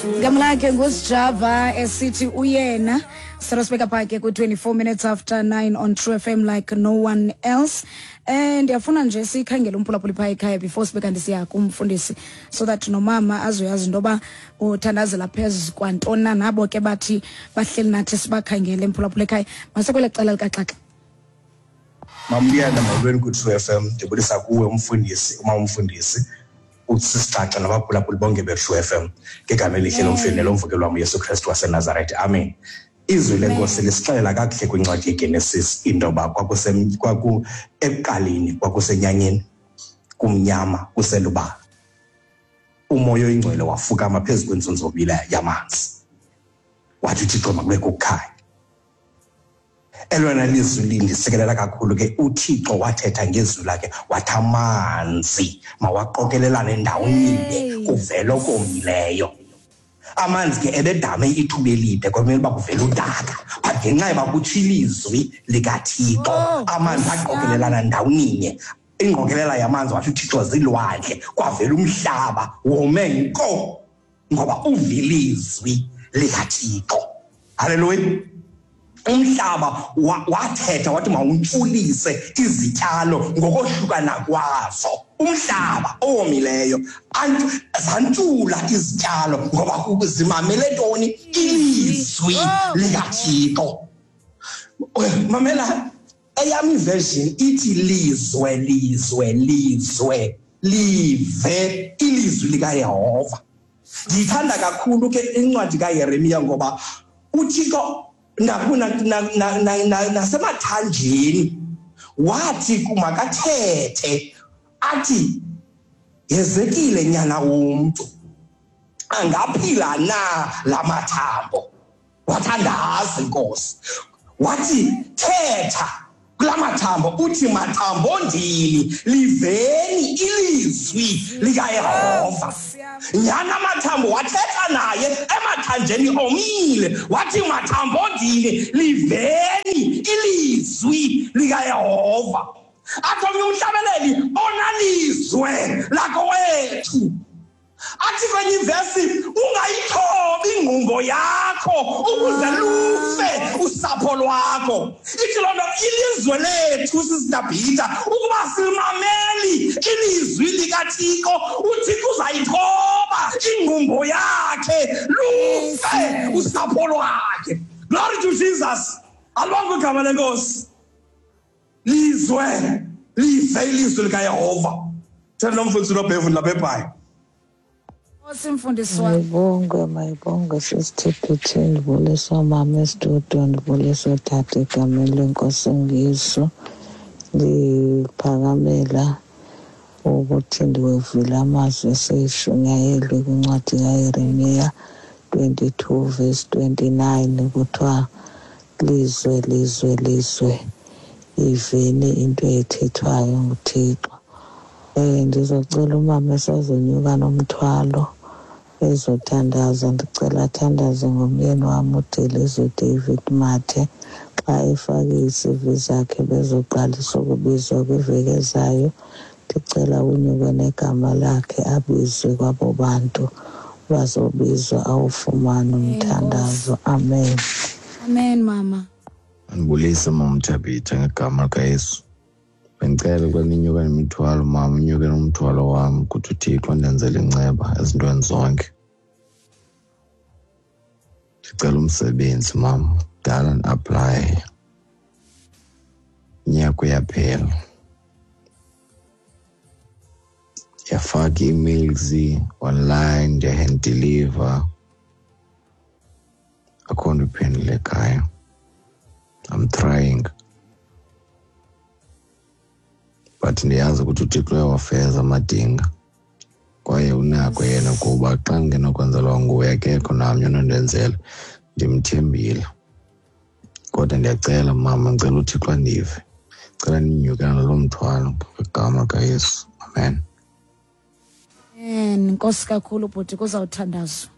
Igama lakhe nguSjava esithi uyena. Sisibeka pha ke ku-24 minutes after 9 on True FM like no one else. And ndiyafuna nje sikhangele umphulaphuli phaa ekhaya before sibe kanti siya kumfundisi so that nomama azoyazi into yoba uthandazela phezu kwantoni na, nabo ke bathi bahleli nathi sibakhangele emphulaphula ekhaya. Masekwele cala likaxaxa. Mamliyana, molweni kwi-True FM. Ndibulisa kuwe umfundisi, uma umfundisi usisixaxa nabaphulaphuli bonke be-True FM ngegama elihle lomfeli nelomvukelo wam uYesu Kristu waseNazaretha, amen. Izwi lenkosi lisixelela kakuhle kwincwadi yeGenesis into yoba kwaku ekuqaleni kwakusenyanyeni, kumnyama, kuselubala. Umoya oyingcwele wafukama phezu kwentsunzobila yamanzi, wathi uThixo makubekho ukukhanya. Elona lizwi lindisikelela kakhulu ke, uThixo wathetha ngezwi lakhe wathi amanzi mawaqokelelane ndawoninye kuvele okomileyo. Amanzi ke ebedame ithuba elide, kwamele uba kuvele udaka, but ngenxa yoba kutsho ilizwi likaThixo, amanzi aqokelelana ndawoninye. Ingqokelela yamanzi wathi uThixo zilwandle, kwavela umhlaba wome nko ngoba uvilizwi likaThixo. Haleluya. Umhlaba wathetha wathi mawuntshulise izityalo ngokohlukana kwazo. Umhlaba owomileyo zantshula izityalo ngoba zimamele ntoni? Ilizwi likaThixo. Mamela, eyam iversion ithi lizwe, lizwe, lizwe, live ilizwi likaYehova. Ndiyithanda kakhulu ke incwadi kaYeremiya ngoba uThixo nasemathanjeni wathi makathethe athi, Hezekile nyana womntu, angaphila na la mathambo? Wathandaza inkosi wathi, thetha kula mathambo uthi, mathambo ndini, liveni ilizwi likaYehova. Nyana mathambo, wathetha naye emathanjeni omile wathi, mathambo ndini, liveni ilizwi likaYehova. Athi omnye umhlabeleli, onalizwe lakowethu, athi kwenye ivesi, ungayithobi ingqumbo yakho ukuze lufe usapho lwakho. Ithi loo nto ilizwe lethu sisitabhita ukuba silimameli ilizwi likaThixo, uThixo uzayithoba ingqumbo yakhe lufe usapho lwakhe. Glory to Jesus. Alibongwe igama lenkosi. Lizwe live ilizwi likaYehova. Thanda nomfundisi uNobhevu lapha eBhayi. Nkosi mfundisi wam. Mayibongwe, mayibongwe sisiTPT, ndibulisa oomama estudiyo, ndibulisa ootata egameni lenkosi uYesu. Ndiphakamela ukuthi ndiwevile amazwi eseyishunyayelwe kwincwadi kaYeremiya 22 verse 29, kuthiwa lizwe, lizwe, lizwe, iveni into ethethwayo nguThixo. Ndizocela umama esazonyuka nomthwalo ezothandaza, ndicela athandaze ngomyeni wam uDelizwe David Mathe xa efake ii-CV zakhe bezoqalisa ukubizwa kwiveki ezayo. Ndicela unyuke negama lakhe abizwe kwabo bantu bazobizwa, awufumane umthandazo. Amen. Amen mama. Andibulise mama Thabitha ngegama likaYesu. Bendicela xa ninyuka nemithwalo mama, unyuke nomthwalo wam kuthi uThixo andenzele inceba ezintweni zonke. Ndicela umsebenzi mama, kudala ndiaplaye, unyaka uyaphela. Ndiyafaka ii-emails online, ndiya-hand deliver, akho nto iphendulekayo. I'm trying, but ndiyazi ukuthi uThixo uyawafeza amadinga kwaye unako yena, kuba xa ndingenokwenzelwa nguye akekho namnye onondenzela. Ndimthembile, kodwa ndiyacela mama, ndicela uThixo andive, ndicela ndinyukele naloo mthwalo ngegama likaYesu. Amen. Amen. Nkosi kakhulu bhuti, kuzawuthandazwa.